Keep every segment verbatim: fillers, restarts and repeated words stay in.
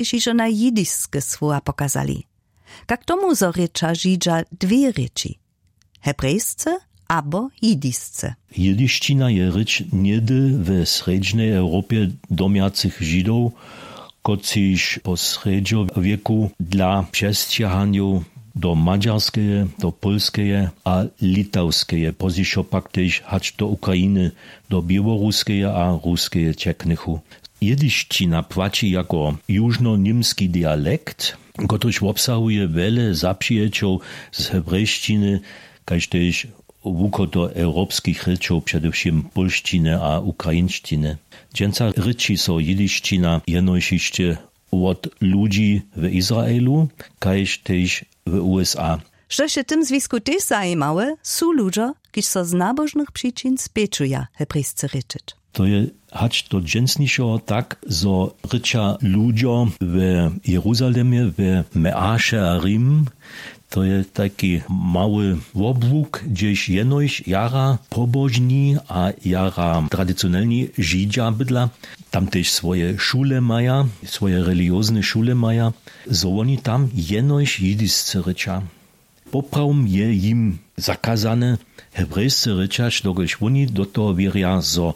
kiž hižo na jidiske słowa pokazali. Kak tomu zo rěča židźa dwě rěči, hebrejsce abo jidisce? Jidišćina je rěč něhdy we srjedźnej europje domjacych židow, kotřiž po srjedźowěku dla přesćahanjow do madźarskeje, do pólskeje a litawskeje, pozdźišo pak tež hač do ukrainy, do běłoruskeje a ruskeje ćeknychu. Jidišćina płaći jako južnoněmski dialekt, kotryž wobsahuje wjele zapřijećow z hebrejšćiny, kaž tež wuchodoewropskich rěčow, předewšěm pólšćiny a ukrainšćiny. Dźensa rěči so jidišćina jenož hišće wot ludźi w Izraelu, kaž tež w U S A. Štož je w tym zwisku tež zajimawe, su ludźo, kiž so z nabožnych přičin spjećuja hebrejsce rěčeć. To je hač do dźensnišeho tak, zo rěča ludźo w Jeruzalemje, w Meaše a Rim, to je taki mały wobłuk, hdźež jenož jara pobožni a jara tradicionelni židźa bydla. Tam tež swoje šule maja, swoje religiozne šule maja, zo woni tam jenož jidisce rěča. Poprawom je jim zakazane hebrejsce rěčać, dokelž woni do toho wěrja, zo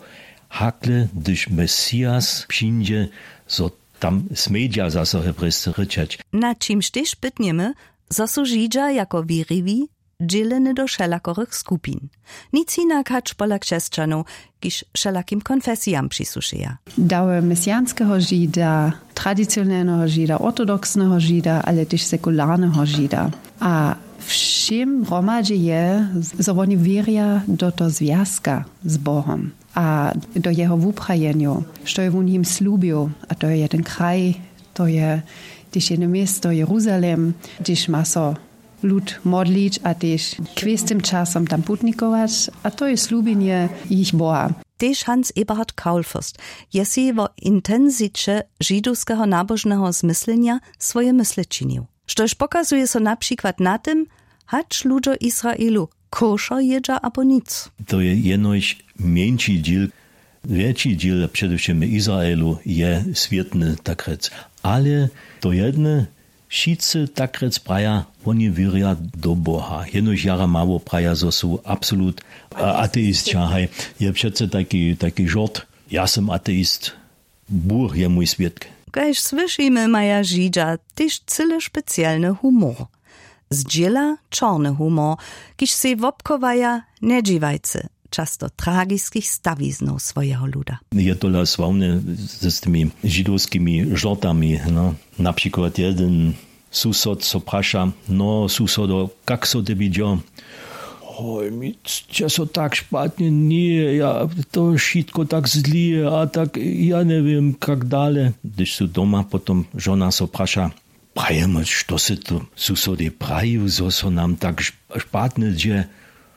hakle, hdyž Mesias přińdźe, zo tam smědźa zaso hebrejsce rěčać. Na čimž tež pytnjemy, zo su židźa jako wěriwi dźěleny do wšelakorych skupin. Nic hinak hač pola křesćanow, kiž wšelakim konfesijam přisłušeja. Dały mesianskeho žida, tradicionelneho žida, ortodoksneho žida, ale tež sekularneho žida. A wšěm hromadźe je, zo woni wěrja do to zwjazka z Bohom a do jeho wuprajenjow, što je wón jim slubił. A to je jeden kraj, to je tež jedno město, Jeruzalem, hdźež ma so lud modlić a tež k wěstym časom tam putnikować, a to je slubjenje jich Boha. Tež Hans Eberhard Kaulfürst je sej wo intensiće židowskeho nabožneho zmyslenja swoje mysle činił, štož pokazuje so na přikład na tym, hač ludźo Israelu košer jědźa abo nic. To je jenož mjeńši dźěl. Wjetši dźěl, předewšěm w Izraelu, je swětny, tak rjec. Ale to jedne, wšitcy, tak rjec, praja, woni wěrja do Boha. Jenož jara mało praja, zo su absolut, a, ateisća. Haj, je přece taki, taki žort: „Ja sym ateist, Bóh je mój swědk.“ Kaž słyšimy, maja židźa tež cyle specielny humor. Zdźěla čorny humor, kiž sej wobchowaja njedźiwajcy často tragiskich stawiznow swojeho luda. Je tola sławne z tymi židowskimi žortami, no. Na přikład jedyn susod so praša: „No, susodo, kak so tebi dźo?“ „Hoj, mi dźe so tak špatnje, ně, ja to wšitko tak zlije a tak, ja njewěm, kak dale.“ Hdyž su doma, potom žona so praša: „Prajemy, što sy to susodej prajił, zo so nam tak šp-, špatnje dźe?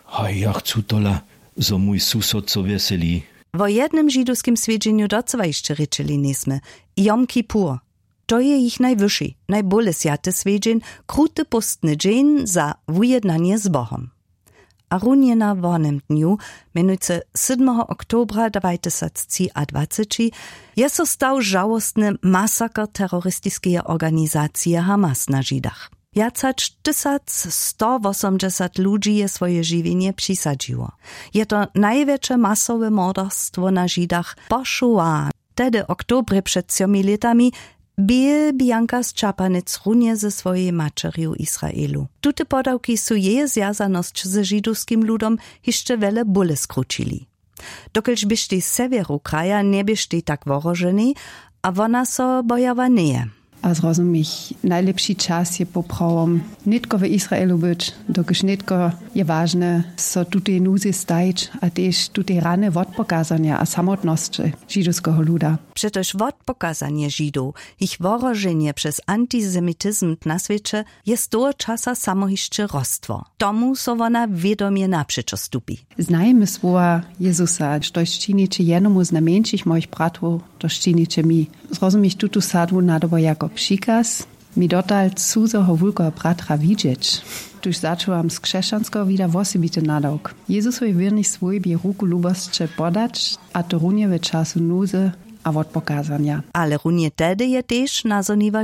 A ja chcu tola, zo mój susod so wjeseli.“ Wo jednym židowskim swjedźenju docyła hišće rěčeli njejsmy: Jom Kippur. To je jich najwyši, najbóle swjaty swjedźeń, kruty póstny dźeń za wujednanje z Bohom. A runje na wonym dnju, mjenujcy sydmeho oktobra dwajtysactřiadwaceći, je so stał žałostny masaker teroristiskeje organizacije Hamas na Židach. Wjac hač tysacstowosomdźesat ludźi je swoje žiwjenje přisadźiło. Je to najwjetše masowe morderstwo na Židach po Shoah. Tehdy, w oktobrje před třomi lětami, bě Bianka z Čapanec runje ze swojej maćerju w Israelu. Tute podawki su jeje zwjazanosć ze židowskim ludom hišće wjele bóle skrućili. Dokelž běštej sewjeru kraja njeběštej tak wohroženej a wona so bojała njeje. A zrozumich, najlěpši čas je poprawom nětko w Israelu być, dokelž nětko je wažne so tutej nuzy stajić a tež tutej rany wotpokazanja a samotnosće židowskeho luda. Přetož wotpokazanje Židow, jich wohroženje přez antisemitizm na swěće je z toho časa samo hišće rostło. Tomu so wona wědomje napřećo stupi. Znajemy słowa Jezusa, štož činiće jenomu z najmjeńšich mojich bratrow, to činiće mi. Zrozumich tutu sadłu nadobo jako přikaz, mi dotal cuzeho wulkeho bratra widźeć. Tuž začuwam z křesćanskeho wida wosebity nadawk. Jezusowi wěrnej swójbje ruku lubosće podać, a to runje w času nuzy a wotpokazanja. Ale runje tehdy je tež nazhoniła